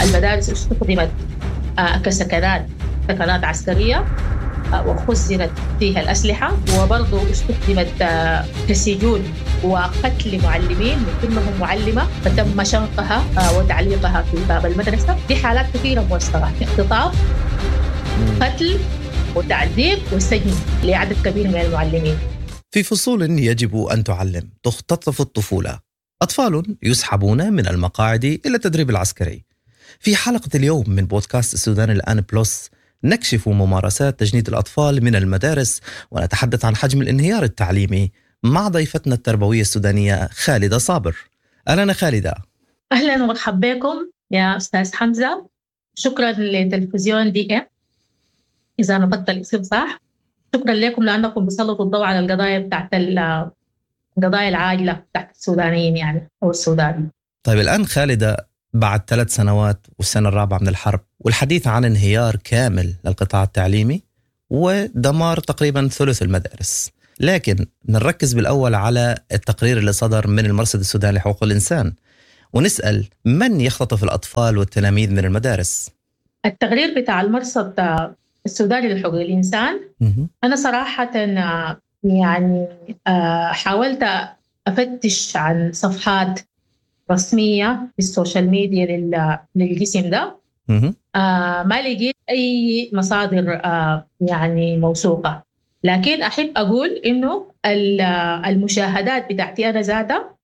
المدارس استخدمت كسكنات، سكنات عسكرية، وخزنت فيها الأسلحة، وبرضو استخدمت كسجون وقتل معلمين، من ضمنهم معلمة فتم شنقها وتعليقها في باب المدرسة. دي حالات كثيرة موثقة، اختطاف، قتل وتعذيب وسجن لعدد كبير من المعلمين. في فصول يجب أن تعلم تختطف الطفولة، أطفال يسحبون من المقاعد إلى التدريب العسكري. في حلقة اليوم من بودكاست السودان الآن بلس نكشف ممارسات تجنيد الأطفال من المدارس ونتحدث عن حجم الانهيار التعليمي مع ضيفتنا التربوية السودانية خالدة صابر. أهلا خالدة. أهلا ومرحبا بكم يا أستاذ حمزة. شكرا لتلفزيون دي إم إذا نطقت الاسم صح. شكرا لكم لأنكم بتسلطوا الضوء على القضايا بتاعت القضايا العاجلة بتاعت السودانيين يعني أو السودان. طيب الآن خالدة، بعد 3 سنوات والسنة الرابعة من الحرب والحديث عن انهيار كامل للقطاع التعليمي ودمار تقريبا ثلث المدارس، لكن نركز بالأول على التقرير اللي صدر من المرصد السوداني لحقوق الإنسان ونسأل من يختطف الأطفال والتلاميذ من المدارس؟ التقرير بتاع المرصد السوداني لحقوق الإنسان، أنا صراحة يعني حاولت أفتش عن صفحات رسمية في ال social media للجسم ده، ما لقيت أي مصادر يعني موثوقة. لكن أحب أقول إنه المشاهدات بتاعتي أنا ذاتها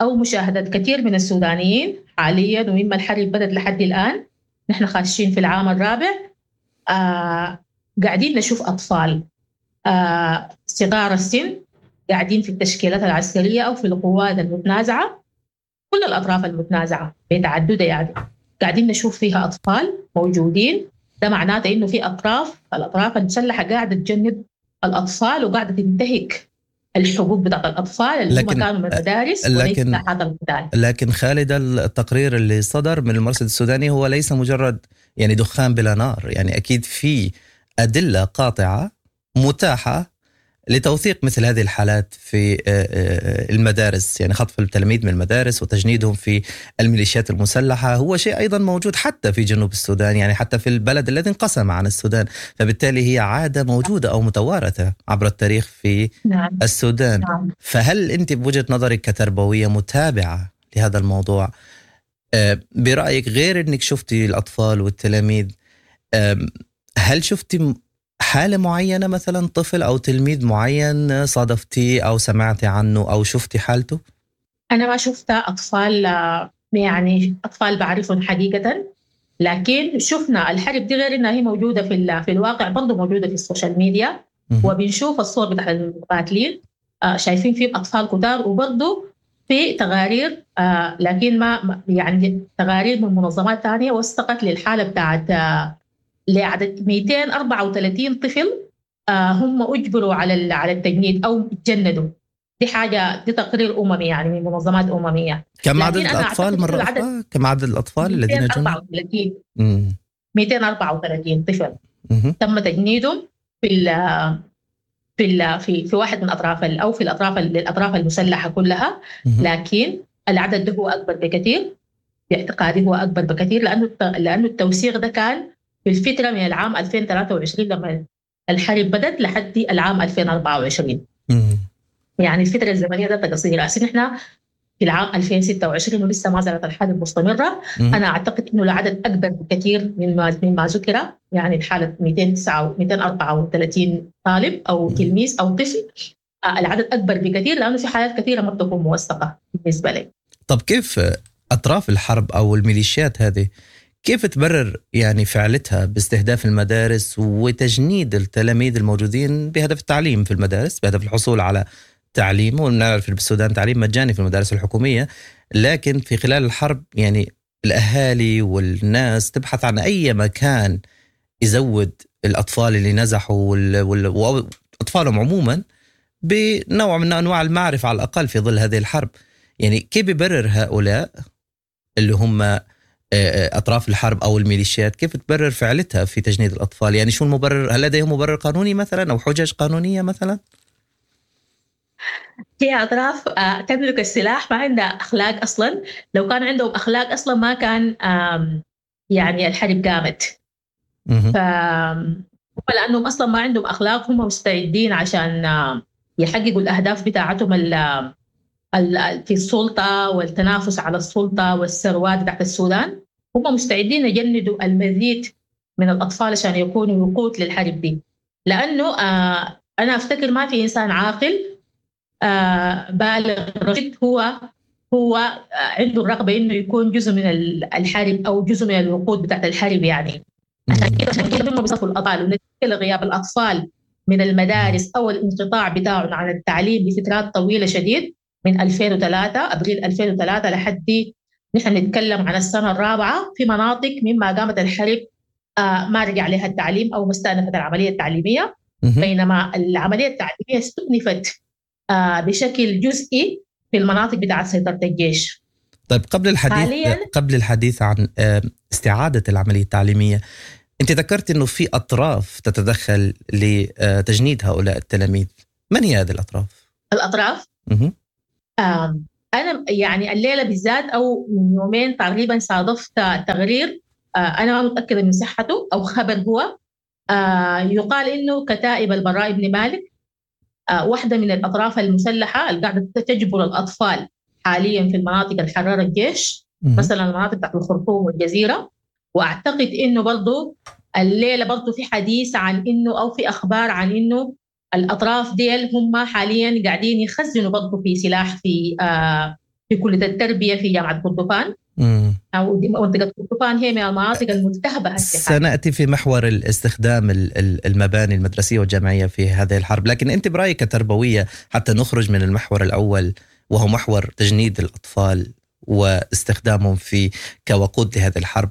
أو مشاهدات كثير من السودانيين حاليا، ومما الحرب بدت لحد الآن نحن خاشين في العام الرابع، قاعدين نشوف أطفال صغار السن قاعدين في التشكيلات العسكرية أو في القوات المتنازعة، كل الأطراف المتنازعة بتعددها يعني قاعدين نشوف فيها أطفال موجودين. ده معناته إنه في أطراف، الأطراف المسلحة قاعدة تجند الأطفال وقاعدة تنتهك الحقوق بتاعت الأطفال اللي هم كانوا من المدارس وليس ساحات القتال. لكن خالد، التقرير اللي صدر من المرصد السوداني هو ليس مجرد يعني دخان بلا نار، يعني أكيد في أدلة قاطعة متاحة لتوثيق مثل هذه الحالات في المدارس، يعني خطف التلاميذ من المدارس وتجنيدهم في الميليشيات المسلحة هو شيء أيضا موجود حتى في جنوب السودان، يعني حتى في البلد الذي انقسم عن السودان، فبالتالي هي عادة موجودة أو متوارثة عبر التاريخ في السودان. فهل أنت بوجهة نظرك كتربوية متابعة لهذا الموضوع، برأيك غير أنك شفتي الأطفال والتلاميذ، هل شفتي حالة معينة مثلا طفل أو تلميذ معين صادفتيه أو سمعتي عنه أو شفتي حالته؟ أنا ما شفت أطفال، يعني أطفال بعرفهم حقيقة، لكن شفنا الحرب دي غير إنها هي موجودة في الواقع برضو موجودة في ال social media، وبنشوف الصور بتاعت المقاتلين، شايفين فيهم أطفال كتار، وبرضو في تقارير، لكن ما يعني تقارير من منظمات ثانية وثقت للحالة بتاعت لعدد 234 طفل هم أجبروا على التجنيد أو تجندوا. دي حاجة، دي تقرير أممي يعني من منظمات أممية. كم عدد الأطفال مرة أخرى؟ كم عدد الأطفال الذين جندوا؟ 234 طفل تم تجنيدهم في في في في واحد من أطراف أو في الأطراف المسلحة كلها. لكن العدد ده هو أكبر بكثير، باعتقادي هو أكبر بكثير، لأنه التوثيق ده كان في الفترة من العام 2023 لما الحرب بدت لحد العام 2024. يعني الفترة الزمنية ده قصيرة. هسه نحن في العام 2026 ولسه ما زالت الحرب مستمرة. أنا أعتقد إنه العدد أكبر بكثير مما ذكر، يعني الحالة 234 طالب أو تلميذ أو طفل، العدد أكبر بكثير لأنه في حالات كثيرة ما بتكون موثقة بالنسبة لي. طب كيف أطراف الحرب أو الميليشيات هذه كيف تبرر يعني فعلتها باستهداف المدارس وتجنيد التلاميذ الموجودين بهدف التعليم في المدارس، بهدف الحصول على تعليم؟ ونعرف في السودان تعليم مجاني في المدارس الحكومية، لكن في خلال الحرب يعني الأهالي والناس تبحث عن أي مكان يزود الأطفال اللي نزحوا وأطفالهم عموما بنوع من أنواع المعرفة على الأقل في ظل هذه الحرب. يعني كيف يبرر هؤلاء اللي هم أطراف الحرب أو الميليشيات، كيف تبرر فعلتها في تجنيد الأطفال؟ يعني شو المبرر؟ هل لديهم مبرر قانوني مثلا أو حجج قانونية مثلا؟ هي أطراف تملك السلاح، ما عندها أخلاق أصلا. لو كان عندهم أخلاق أصلا ما كان يعني الحرب قامت. فهم لأنهم أصلا ما عندهم أخلاق، هم مستعدين عشان يحققوا الأهداف بتاعتهم في السلطة والتنافس على السلطة والثروات بتاعت السودان. هم مستعدين يجندوا المزيد من الأطفال عشان يكونوا وقود للحرب دي، لأنه أنا أفتكر ما في إنسان عاقل بالغ رشيد هو عنده الرغبة إنه يكون جزء من الحرب أو جزء من الوقود بتاعت الحرب يعني. عشان كده هم بيصفوا الأطفال، ونتيجة لغياب الأطفال من المدارس أو الانقطاع بتاعهم عن التعليم لفترات طويلة شديد من 2003 أبريل 2003 لحد نحن نتكلم عن السنة الرابعة، في مناطق مما قامت الحرب ما رجع لها التعليم أو ما استأنفت العملية التعليمية، بينما العملية التعليمية استؤنفت بشكل جزئي في المناطق بتاعت سيطرة الجيش. طيب قبل الحديث عن استعادة العملية التعليمية، أنت ذكرت أنه في أطراف تتدخل لتجنيد هؤلاء التلاميذ، من هي هذه الأطراف؟ الأطراف؟ أنا يعني الليلة بالذات أو من يومين تقريبا صادفت تقرير أنا ما متأكدة من صحته أو خبر هو، يقال إنه كتائب البراء بن مالك واحدة من الأطراف المسلحة اللي قاعدة تجبر الأطفال حاليا في المناطق الحرارة الجيش، مثلا المناطق بتاعت الخرطوم والجزيرة. وأعتقد إنه برضو الليلة برضو في حديث عن إنه أو في أخبار عن إنه الأطراف ديل هم حاليا قاعدين يخزنوا برضو في سلاح في كلية التربية في جامعة كردفان، أو منطقة كردفان هي من المناطق الملتهبة. سنأتي في محور الاستخدام المباني المدرسية والجامعية في هذه الحرب، لكن أنت برأيك كتربوية حتى نخرج من المحور الأول وهو محور تجنيد الأطفال واستخدامهم في كوقود لهذه الحرب،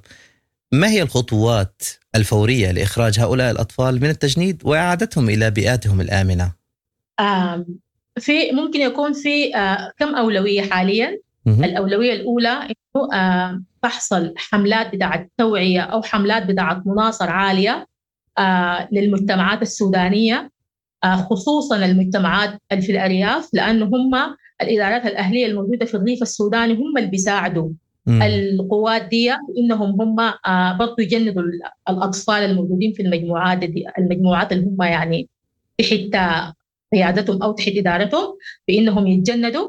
ما هي الخطوات الفورية لإخراج هؤلاء الأطفال من التجنيد وإعادتهم إلى بيئاتهم الآمنة؟ في ممكن يكون في كم أولوية حاليا. الأولوية الأولى إنه تحصل حملات بتاعة توعية أو حملات بتاعة مناصرة عالية للمجتمعات السودانية، خصوصا المجتمعات اللي في الأرياف، لأنه هم الإدارات الأهلية الموجودة في الريف السوداني هم اللي بيساعدوا القوات دي إنهم هم برضو يجندوا الأطفال الموجودين في المجموعات دي، المجموعات اللي هم يعني تحت قيادتهم أو تحت إدارتهم، بإنهم يتجندوا.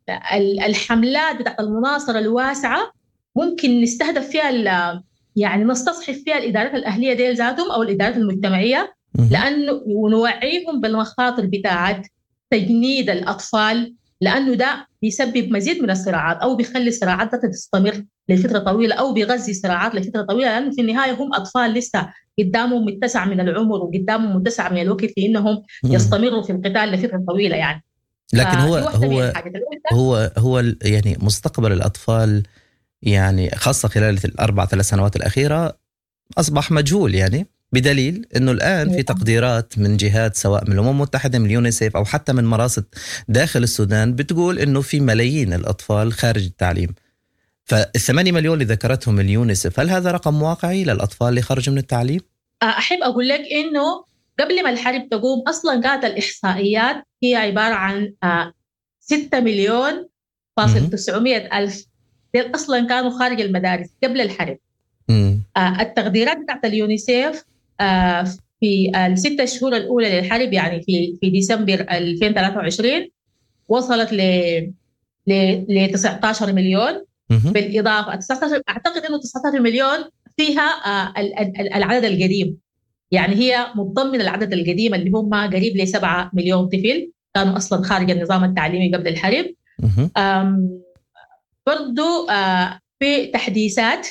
والحملات بتاعت المناصرة الواسعة ممكن نستهدف فيها يعني نستصحب فيها الإدارات الأهلية دي ذاتهم أو الإدارات المجتمعية، لأنه ونوعيهم بالمخاطر بتاعت تجنيد الأطفال، لأنه ده بيسبب مزيد من الصراعات أو بيخلي الصراعات تستمر لفترة طويلة أو بيغذي صراعات لفترة طويلة، لأنه في النهاية هم أطفال لسه قدامهم متسع من العمر وقدامهم متسع من الوقت لأنهم يستمروا في القتال لفترة طويلة يعني. لكن هو هو هو هو يعني مستقبل الأطفال يعني خاصة خلال 4-3 سنوات الأخيرة أصبح مجهول، يعني بدليل أنه الآن في تقديرات من جهات سواء من الأمم المتحدة، من اليونيسيف، أو حتى من مراصد داخل السودان بتقول أنه في ملايين الأطفال خارج التعليم. ف8 مليون اللي ذكرتهم اليونيسيف، هل هذا رقم واقعي للأطفال اللي خرجوا من التعليم؟ أحب أقول لك أنه قبل ما الحرب تقوم أصلا كانت الإحصائيات هي عبارة عن 6,900,000 أصلا كانوا خارج المدارس قبل الحرب. التقديرات بتاعت اليونيسيف في ال6 شهور الأولى للحرب، يعني في ديسمبر 2023، وصلت ل 19 مليون. بالإضافة 19، أعتقد أنه 19 مليون فيها العدد القديم، يعني هي متضمنة العدد القديم اللي هم قريب ل 7 مليون طفل كانوا أصلا خارج النظام التعليمي قبل الحرب. برضو في تحديثات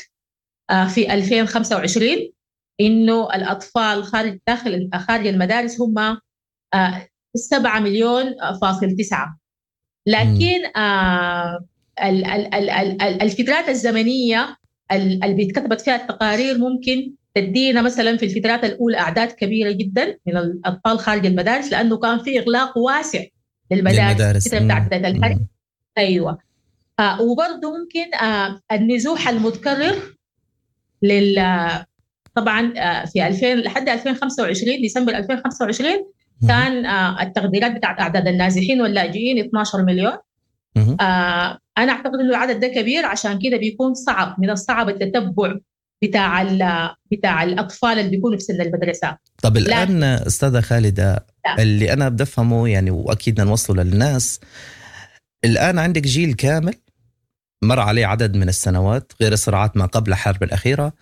في 2025 إنه الأطفال خارج خارج المدارس هم 7.9 مليون. لكن الفترات الزمنية اللي بيتكتبت فيها التقارير ممكن تدينا مثلا في الفترات الأولى أعداد كبيرة جدا من الأطفال خارج المدارس، لأنه كان في إغلاق واسع للمدارس بتاعت بداية الحرب. أيوة. وبرضه ممكن النزوح المتكرر طبعا في 2000 لحد 2025 ديسمبر 2025 كان التقديرات بتاعت أعداد النازحين واللاجئين 12 مليون. أنا أعتقد إنه العدد ده كبير، عشان كده بيكون صعب، من الصعب التتبع بتاع الأطفال اللي بيكونوا في سن المدرسة. طب الآن أستاذة خالدة، اللي أنا بفهمه يعني وأكيد نوصله للناس، الآن عندك جيل كامل مر عليه عدد من السنوات غير الصراعات ما قبل الحرب الأخيرة،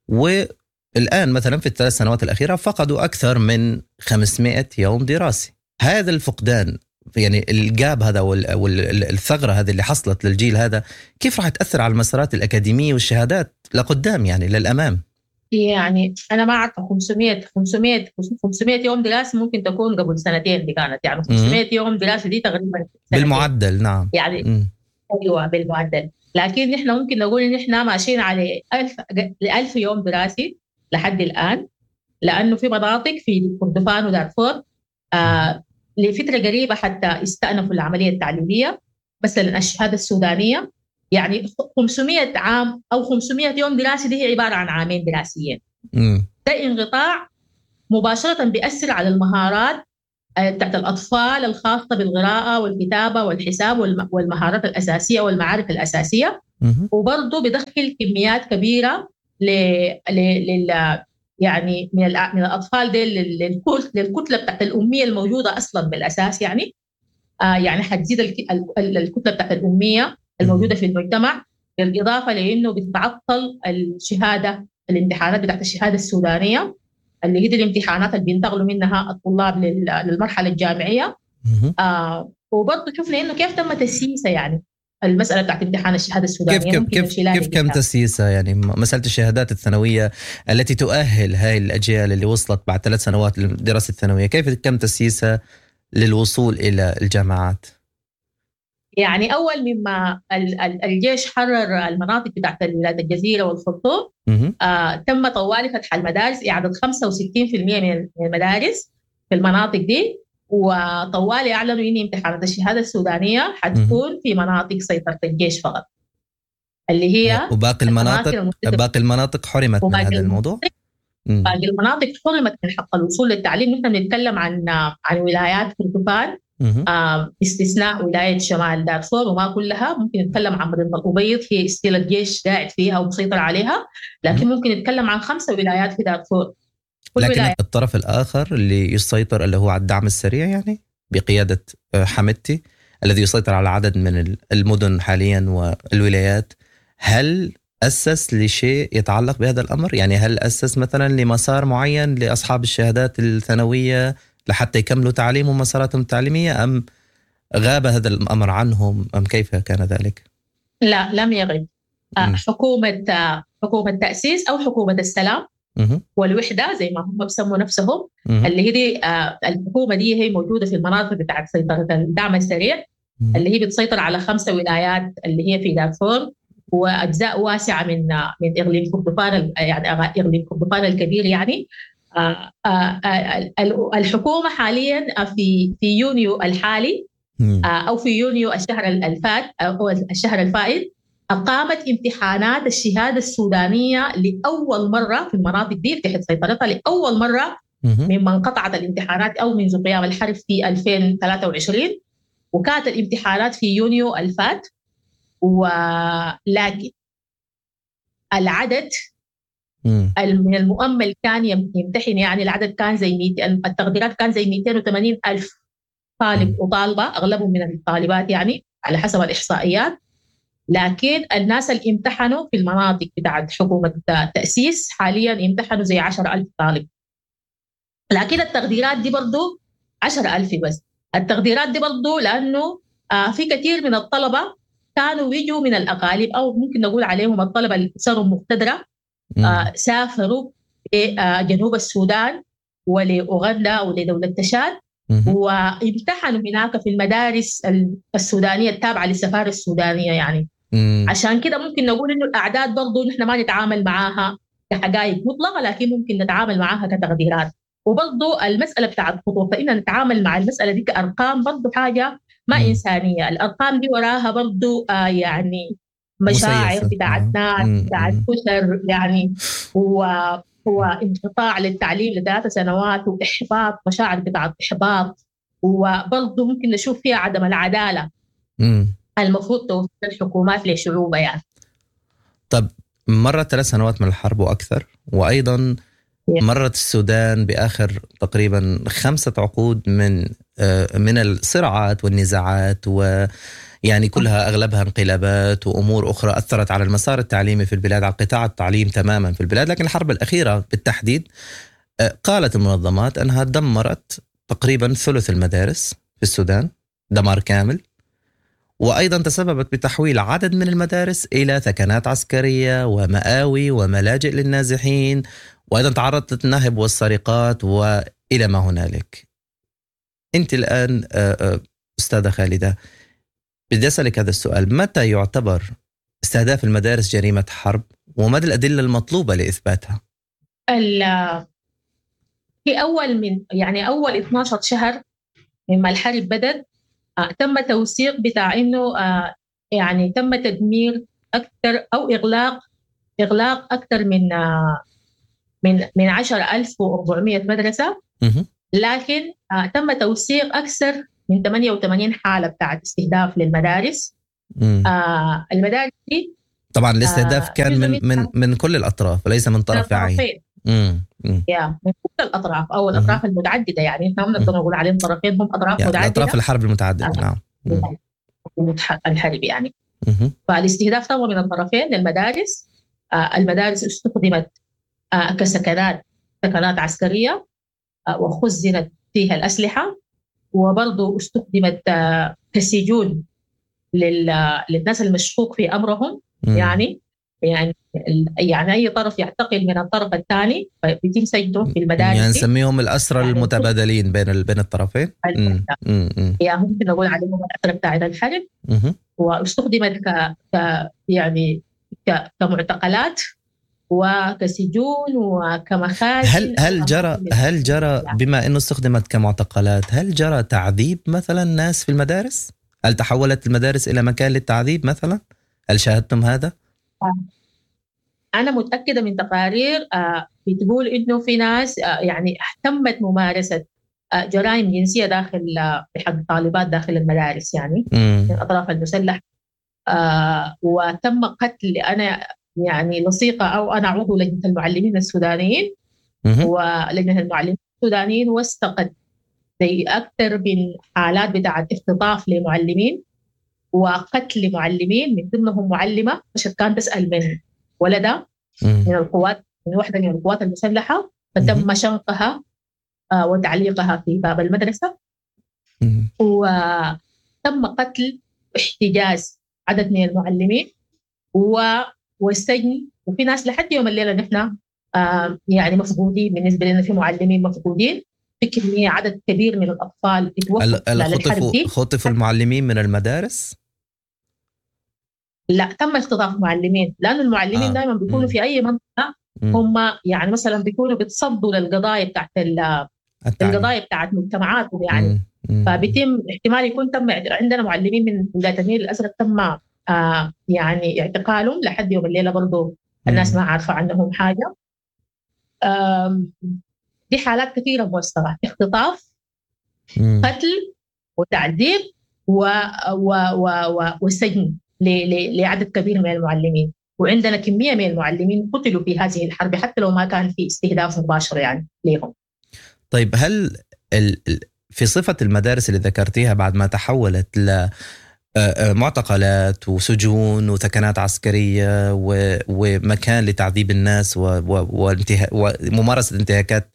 والآن مثلا في ال3 سنوات الأخيرة فقدوا أكثر من 500 يوم دراسي. هذا الفقدان يعني الجاب هذا والثغرة هذه اللي حصلت للجيل هذا، كيف راح تأثر على المسارات الأكاديمية والشهادات لقدام يعني للأمام؟ يعني أنا ما أعرف 500 يوم دراسة ممكن تكون قبل سنتين دي كانت، يعني 500 يوم دراسة دي تقريبا بالمعدل. نعم يعني أيوة بالمعدل، لكن نحن ممكن نقول إن إحنا ماشيين على 1000 يوم دراسي لحد الآن، لأنه في مناطق في كردفان ودارفور لفترة قريبة حتى استأنفوا العملية التعليمية، مثلا الشهادة السودانية يعني 500 عام أو 500 يوم دراسي دي هي عبارة عن عامين دراسيين. ده انقطاع مباشرة بيأثر على المهارات بتاعت الأطفال الخاصة بالقراءة والكتابة والحساب والمهارات الأساسية والمعارف الأساسية، وبرضه بدخل كميات كبيرة يعني من الأطفال دي للكتلة بتاعت الأمية الموجودة أصلاً بالأساس، يعني يعني حتزيد الكتلة بتاعت الأمية الموجودة في المجتمع، بالإضافة لأنه بتتعطل الشهادة، الامتحانات بتاعت الشهادة السودانية اللي هي دي الامتحانات اللي بينتقلوا منها الطلاب للمرحلة الجامعية. وبرضه شفنا إنه كيف تم تسييسها، يعني المسألة بتاعت امتحان الشهادة السودانية كيف كم تسييسها، يعني مسألة الشهادات الثانوية التي تؤهل هاي الأجيال اللي وصلت بعد 3 سنوات للدراسة الثانوية، كيف كم تسييسها للوصول إلى الجامعات؟ يعني أول مما الجيش حرر المناطق بتاعت الولايات الجزيرة والخرطوم، تم طوالي فتح المدارس، إعادة 65% من المدارس في المناطق دي، وطوالي أعلنوا إن امتحانات الشهادة السودانية حتكون في مناطق سيطرة الجيش فقط، اللي هي وباقي المناطق، باقي المناطق حرمت من هذا الموضوع. باقي المناطق حرمت من حق الوصول للتعليم. نحن بنتكلم عن ولايات كردفان، باستثناء ولاية شمال دارفور وما كلها. ممكن نتكلم عن مدينة الأبيض، هي still الجيش قاعد فيها ومسيطر عليها، لكن ممكن نتكلم عن 5 ولايات في دارفور. لكن الطرف الآخر اللي يسيطر اللي هو على الدعم السريع، يعني بقيادة حمدتي الذي يسيطر على عدد من المدن حاليا والولايات، هل أسس لشيء يتعلق بهذا الأمر؟ يعني هل أسس مثلا لمسار معين لأصحاب الشهادات الثانوية لحتى يكملوا تعليمهم ومساراتهم التعليمية، أم غاب هذا الأمر عنهم، أم كيف كان ذلك؟ لا، لم يغب. حكومة تأسيس أو حكومة السلام والوحدة زي ما هم بسموا نفسهم، اللي هي دي الحكومة دي هي موجودة في المناطق بتاعت سيطرة الدعم السريع، اللي هي بتسيطر على 5 ولايات اللي هي في دارفور وأجزاء واسعة من إقليم كردفان، يعني إقليم كردفان الكبير. يعني الحكومة حاليا في يونيو الحالي أو في يونيو الشهر الفات أو الشهر الفائت أقامت امتحانات الشهادة السودانية لأول مرة في المناطق دي تحت سيطرتها، لأول مرة مما انقطعت الامتحانات أو منذ قيام الحرب في 2023، وكانت الامتحانات في يونيو الفات. ولكن العدد من المؤمل كان يمتحن، يعني العدد كان زي التقديرات كان زي 280 ألف طالب وطالبة، أغلبهم من الطالبات يعني على حسب الإحصائيات. لكن الناس اللي امتحنوا في المناطق بتاعت حكومة التأسيس حاليا امتحنوا زي 10,000 طالب، لكن التقديرات دي برضو 10,000 بس. التقديرات دي برضو لأنه في كثير من الطلبة كانوا يجوا من الأقاليم، أو ممكن نقول عليهم الطلبة اللي صاروا مقتدرة، سافروا لجنوب السودان ولأوغندا ولدولة تشاد، وامتحنوا هناك في المدارس السودانية التابعة للسفارة السودانية. يعني عشان كده ممكن نقول إنه الأعداد برضو نحن ما نتعامل معاها كحقائق مطلقة، لكن ممكن نتعامل معاها كتقديرات. وبرضو المسألة بتاعت خطوة، فإن نتعامل مع المسألة دي كأرقام برضو حاجة ما إنسانية. الأرقام دي وراها برضو يعني مشاعر بتاعت ناس، بتاعت أسر، يعني وانقطاع للتعليم ل3 سنوات، وإحباط، مشاعر بتاعت إحباط. وبرضو ممكن نشوف فيها عدم العدالة. المفروض توفر الحكومات لشعوبها يعني. طب مرت 3 سنوات من الحرب وأكثر، وأيضا مرت السودان بآخر تقريبا 5 عقود من الصراعات والنزاعات، ويعني كلها أغلبها انقلابات وأمور أخرى أثرت على المسار التعليمي في البلاد، على قطاع التعليم تماما في البلاد. لكن الحرب الأخيرة بالتحديد قالت المنظمات أنها دمرت تقريبا ثلث المدارس في السودان دمار كامل، وأيضا تسببت بتحويل عدد من المدارس إلى ثكنات عسكرية ومآوي وملاجئ للنازحين، وأيضا تعرضت للنهب والسرقات وإلى ما هنالك. أنت الآن أستاذة خالدة، بدي أسألك هذا السؤال: متى يعتبر استهداف المدارس جريمة حرب، وما الأدلة المطلوبة لإثباتها؟ في أول 12 شهر مما الحرب بدأت تم توثيق بتاع إنه يعني تم تدمير أكثر أو إغلاق أكثر من 10,400 مدرسة، لكن تم توثيق أكثر من 88 حالة بتاعت استهداف للمدارس. المدارس دي طبعا الاستهداف كان من من من كل الأطراف وليس من طرف عين. من كل الأطراف أو الأطراف المتعددة، يعني إحنا ما بنقدر نقول عليهم طرفين، هم أطراف يعني متعددة، أطراف الحرب المتعددة. نعم، الحرب يعني. فالاستهداف طبعا من الطرفين للمدارس. المدارس استخدمت كسكنات، سكنات عسكرية، وخزنت فيها الأسلحة، وبرضو استخدمت كسجون للناس المشكوك في أمرهم. يعني أي طرف يعتقل من الطرف الثاني بيتم سجنه في المدارس، يعني نسميهم الأسرى يعني المتبادلين بين الطرفين. يعني ممكن نقول عليهم الأسرى بتاعت الحرب. واستخدمت يعني كمعتقلات وكسجون وكمخازن. هل جرى بما انه استخدمت كمعتقلات، هل جرى تعذيب مثلا ناس في المدارس؟ هل تحولت المدارس الى مكان للتعذيب مثلا؟ هل شاهدتم هذا؟ انا متاكده من تقارير بتقول انه في ناس يعني تمت ممارسه جرائم جنسيه داخل بحق طالبات داخل المدارس، يعني من الاطراف المسلحه، وتم قتل. انا يعني لصيقة أو أنا عضو لجنة المعلمين السودانيين، ولجنة المعلمين السودانيين وثقت زي أكثر من حالات بتاعة اختطاف لمعلمين وقتل معلمين، من ضمنهم معلمة مشت كانت تسأل من ولدها من القوات، من واحدة من القوات المسلحة، فتم شنقها وتعليقها في باب المدرسة. وتم قتل واحتجاز عدد من المعلمين والسجن، وفي ناس لحد يوم الليلة نحن يعني مفقودين. بالنسبة لنا في معلمين مفقودين، في كمية عدد كبير من الأطفال اتوفوا. خطفوا المعلمين من المدارس؟ لا، تم اختطاف معلمين، لأن المعلمين دائما بيكونوا في أي منطقة هم يعني مثلا بيكونوا بيتصدوا للقضايا بتاعت القضايا بتاعت مجتمعاتهم يعني. فبيتم احتمال يكون تم عندنا معلمين من ولاية النيل الأزرق تم يعني اعتقالهم لحد يوم الليلة، برضو الناس ما عارفة عنهم حاجة. دي حالات كثيرة موثقة: اختطاف، قتل، وتعذيب، وسجن لعدد كبير من المعلمين. وعندنا كمية من المعلمين قتلوا في هذه الحرب حتى لو ما كان في استهداف مباشر يعني لهم. طيب، هل في صفة المدارس اللي ذكرتيها بعد ما تحولت ل معتقلات وسجون وثكنات عسكرية ومكان لتعذيب الناس وممارسة انتهاكات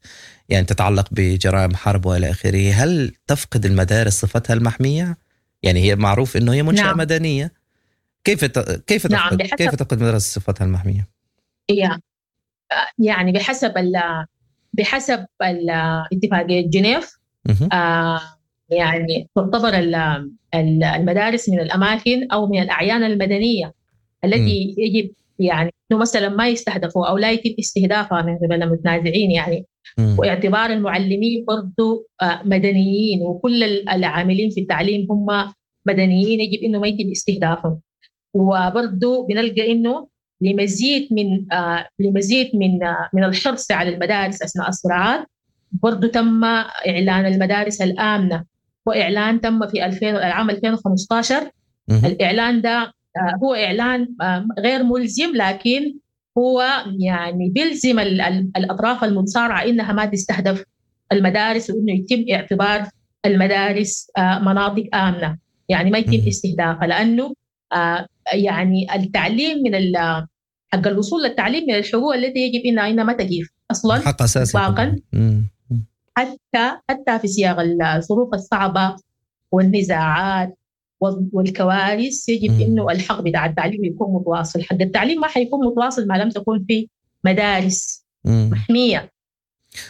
يعني تتعلق بجرائم حرب وإلى آخره، هل تفقد المدارس صفتها المحمية؟ يعني هي معروف إنه هي منشأة نعم. مدنية، كيف تفقد؟ نعم، كيف تفقد المدارس صفتها المحمية؟ يعني بحسب اتفاقية جنيف يعني تعتبر المدارس من الأماكن أو من الأعيان المدنية التي يجب يعني إنه مثلا ما يستهدفوا أو لا يتم استهدافها من قبل المتنازعين يعني. واعتبار المعلمين برضو مدنيين، وكل العاملين في التعليم هم مدنيين، يجب إنه ما يتم استهدافهم. وبرضو بنلقى إنه لمزيد من الحرص على المدارس أثناء الصراعات برضو تم إعلان المدارس الآمنة، وإعلان تم في العام 2015 الإعلان ده هو إعلان غير ملزم، لكن هو يعني بيلزم الأطراف المتصارعة إنها ما تستهدف المدارس، وإنه يتم اعتبار المدارس مناطق آمنة، يعني ما يتم استهدافها، لأنه يعني التعليم من حق الوصول للتعليم من الحقوق التي يجب إنها ما تجيف أصلا حق أساسي إطلاقا، حتى في سياق الظروف الصعبة والنزاعات والكوارث يجب إنه الحق بتاع التعليم يكون متواصل. حق التعليم ما حيكون متواصل ما لم تكون في مدارس محمية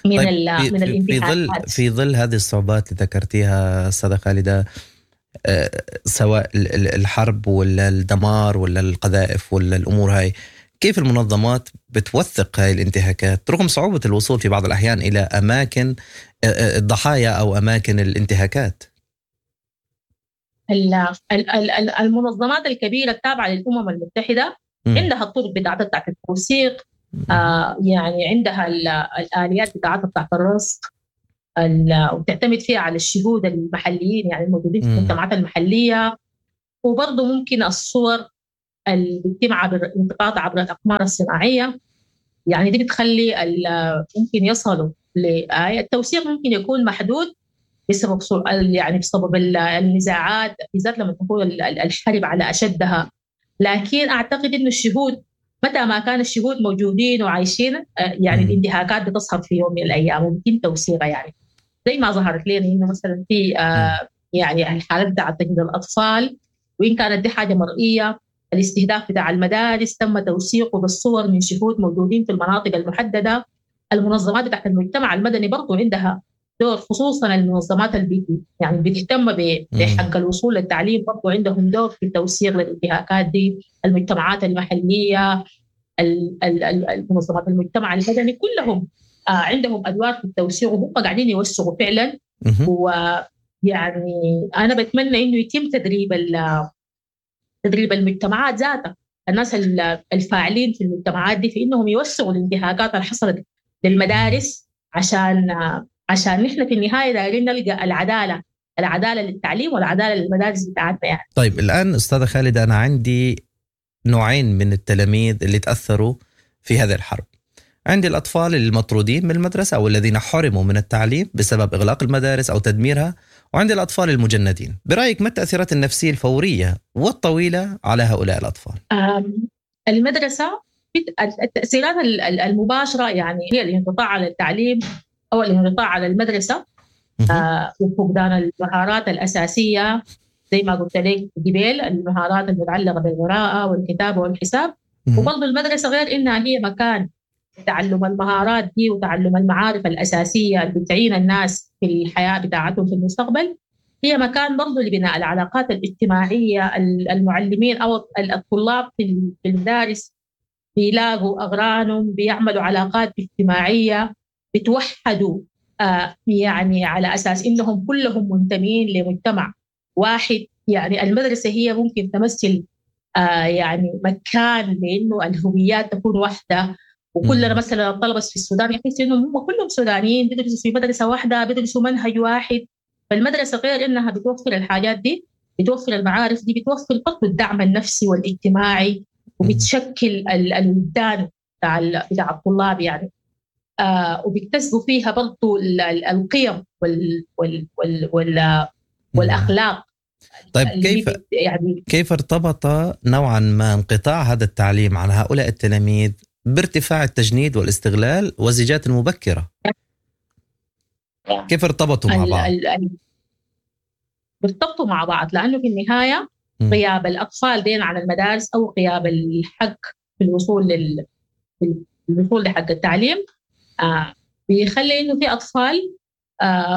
من طيب من الانتهاكات. في ظل هذه الصعوبات اللي ذكرتيها أستاذة خالدة، سواء الحرب ولا الدمار ولا القذائف ولا الأمور هاي، كيف المنظمات بتوثق هاي الانتهاكات رغم صعوبة الوصول في بعض الأحيان إلى أماكن الضحايا أو أماكن الانتهاكات؟ المنظمات الكبيرة التابعة للأمم المتحدة عندها الطرق بتاعتها بتاعت التوثيق، يعني عندها الآليات بتاعتها بتاعت الرصد، وبتعتمد فيها على الشهود المحليين يعني الموجودين في المجتمعات المحلية، وبرضه ممكن الصور اللي بتتم عبر الالتقاط عبر الأقمار الصناعية، يعني دي بتخلي ممكن يصلوا التوثيق ممكن يكون محدود بسبب يعني بسبب النزاعات، بالذات لما تكون الحرب على أشدها. لكن أعتقد إنه الشهود متى ما كان الشهود موجودين وعايشين يعني الانتهاكات بتظهر في يوم من الأيام وبيتم توثيقها، يعني زي ما ظهرت لنا إنه مثلا في يعني الحالات بتاعت تجنيد الأطفال، وإن كانت دي حاجة مرئية، الاستهداف بتاع المدارس تم توثيقه بالصور من شهود موجودين في المناطق المحددة. المنظمات بتاعت المجتمع المدني برضو عندها دور، خصوصا المنظمات اللي يعني بتهتم بحق الوصول للتعليم برضو عندهم دور في التوثيق للانتهاكات دي. المجتمعات المحلية، المنظمات المجتمع المدني كلهم عندهم أدوار في التوثيق، وهم قاعدين يوثقوا فعلا. ويعني أنا بتمنى إنه يتم تدريب المجتمعات ذاتها، الناس الفاعلين في المجتمعات دي، في إنهم يوثقوا الانتهاكات اللي حصلت للمدارس، عشان نحن في النهاية دايرين نلقى العدالة للتعليم والعدالة للمدارس بتاعتنا يعني. طيب الآن أستاذة خالدة، أنا عندي نوعين من التلاميذ اللي تأثروا في هذه الحرب. عندي الأطفال المطرودين من المدرسة أو الذين حرموا من التعليم بسبب إغلاق المدارس أو تدميرها، وعندي الأطفال المجندين. برأيك ما التأثيرات النفسية الفورية والطويلة على هؤلاء الأطفال؟ المدرسة التأثيرات المباشرة يعني هي الانقطاع على التعليم أو الانقطاع على المدرسة، وفقدان المهارات الأساسية زي ما قلت لك قبل، المهارات المتعلقة بالقراءة والكتابة والحساب. وبرضه المدرسة غير إنها هي مكان تعلم المهارات دي وتعلم المعارف الأساسية اللي بتعين الناس في الحياة بتاعتهم في المستقبل، هي مكان برضه لبناء العلاقات الاجتماعية. المعلمين أو الطلاب في المدارس بيلاقوا أغرانهم، بيعملوا علاقات اجتماعية، بتوحدوا يعني على أساس إنهم كلهم منتمين لمجتمع واحد. يعني المدرسة هي ممكن تمثل يعني مكان لأنه الهويات تكون واحدة، وكلنا مثلا الطلبة في السودان يحسوا إنهم هم كلهم سودانيين، بيدرسوا في مدرسة واحدة، بيدرسوا منهج واحد. فالمدرسة غير إنها بتوفر الحاجات دي، بتوفر المعارف دي، بتوفر برضه الدعم النفسي والاجتماعي، وبتشكل الودان بتاع الطلاب يعني، وبيكتسبوا فيها برضو القيم وال وال وال وال والأخلاق. طيب كيف ارتبط نوعا ما انقطاع هذا التعليم عن هؤلاء التلاميذ بارتفاع التجنيد والاستغلال والزيجات المبكرة؟ كيف ارتبطوا مع بعض؟ ارتبطوا مع بعض لأنه في النهاية غياب الأطفال دين عن المدارس أو غياب الحق في الوصول الوصول لحق التعليم بيخلي إنه في أطفال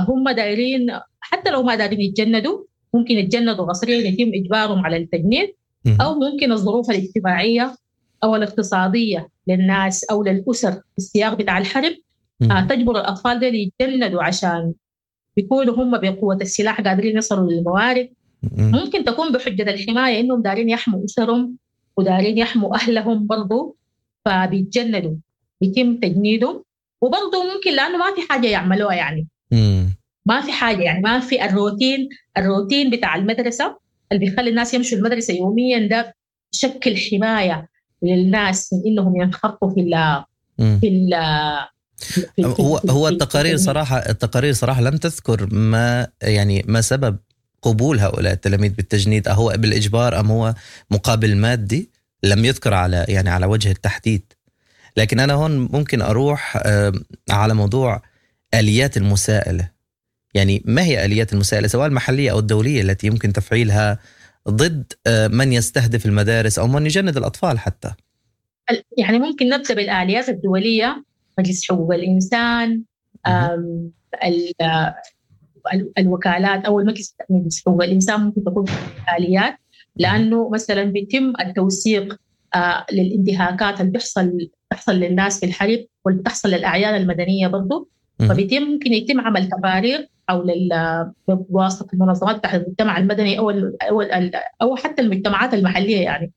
هم دايرين، حتى لو ما دايرين يتجندوا، ممكن يتجندوا قسريا يتم إجبارهم على التجنيد، أو ممكن الظروف الاجتماعية أو الاقتصادية للناس أو للأسر في السياق بتاع الحرب تجبر الأطفال دول يتجندوا عشان بيكونوا هم بقوة السلاح قادرين يصلوا للموارد. ممكن تكون بحجة الحماية إنهم دارين يحموا أسرهم ودارين يحموا أهلهم برضو، فبيتجندوا، بيتم تجنيدهم. وبرضو ممكن لأنه ما في حاجة يعملوها يعني، ما في حاجة يعني، ما في الروتين بتاع المدرسة اللي بيخلي الناس يمشوا المدرسة يوميا ده شكل حماية للناس من إنهم ينخرطوا في ال في ال هو التقارير صراحة، التقارير صراحة لم تذكر ما يعني ما سبب قبول هؤلاء التلاميذ بالتجنيد، أهو بالإجبار أم هو مقابل مادي، لم يذكر على يعني على وجه التحديد. لكن أنا هون ممكن أروح على موضوع آليات المساءلة، يعني ما هي آليات المساءلة سواء المحلية أو الدولية التي يمكن تفعيلها ضد من يستهدف المدارس أو من يجند الأطفال حتى؟ يعني ممكن نبدأ بالآليات الدولية، مجلس حقوق الإنسان، الوكالات أو المجلس حقوق الإنسان ممكن تكون آليات، لأنه مثلا بيتم التوثيق للانتهاكات اللي بتحصل للناس في الحرب واللي بتحصل للأعيان المدنية برضو، فبيتم ممكن يتم عمل تقارير حول بواسطة المنظمات تحت المجتمع المدني أو حتى المجتمعات المحلية، يعني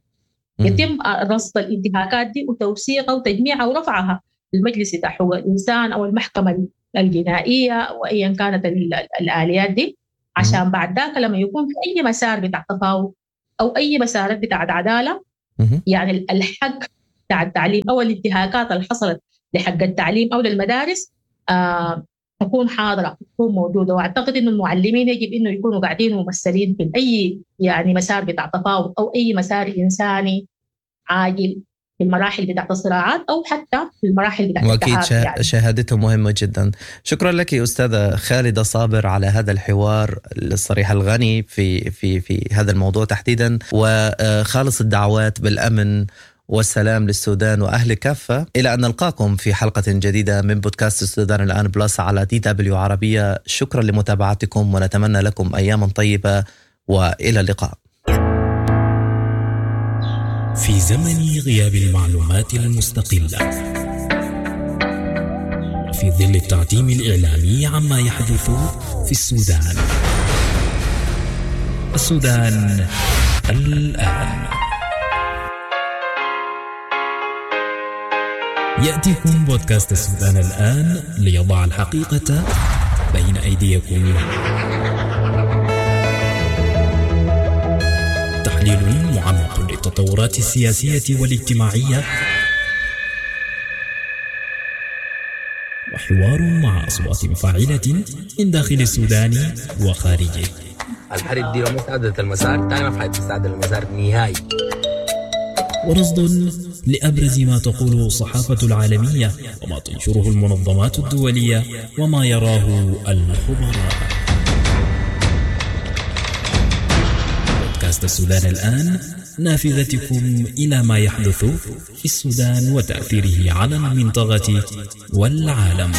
يتم رصد الانتهاكات دي وتوثيقها وتجميعها ورفعها للمجلس بتاع حقوق الإنسان أو المحكمة الجنائية أو أيا كانت الآليات دي، عشان بعد ذاك لما يكون في أي مسار بتاع تفاوض أو أي مسارات بتاع عدالة، يعني الحق بتاع التعليم أو الانتهاكات اللي حصلت لحق التعليم أو للمدارس تكون حاضرة، تكون موجودة. وأعتقد إنه المعلمين يجب إنه يكونوا قاعدين ممثلين في أي يعني مسار بتاع تفاوض أو أي مسار إنساني عاجل في المراحل بتاعت الصراعات أو حتى في المراحل بتاعت وأكيد يعني. شهادتهم مهمة جدا. شكرا لك أستاذة خالدة صابر على هذا الحوار الصريح الغني في في في هذا الموضوع تحديدا، وخالص الدعوات بالأمن والسلام للسودان وأهل كافة. إلى أن نلقاكم في حلقة جديدة من بودكاست السودان الآن بلس على DW عربية. شكرا لمتابعتكم ونتمنى لكم أياما طيبة وإلى اللقاء. في زمن غياب المعلومات المستقلة وفي ظل التعتيم الإعلامي عما يحدث في السودان، السودان الآن، يأتيكم بودكاست السودان الآن ليضع الحقيقة بين أيديكم. تحليل معمق للتطورات السياسية والاجتماعية، وحوار مع أصوات فاعلة من داخل السودان وخارجه. الحرب دي لو ما استعدلت المسار تاني ما حتستعدل المسار نهائي. ورصد لأبرز ما تقوله الصحافة العالمية وما تنشره المنظمات الدولية وما يراه الخبراء. بودكاست السودان الآن، نافذتكم إلى ما يحدث في السودان وتأثيره على المنطقة والعالم.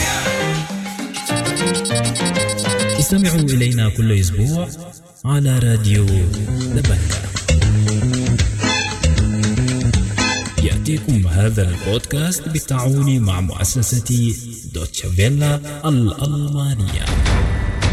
استمعوا إلينا كل أسبوع على راديو دبنكا. يأتيكم هذا البودكاست بالتعاون مع مؤسسة دوتشا فيلا الألمانية.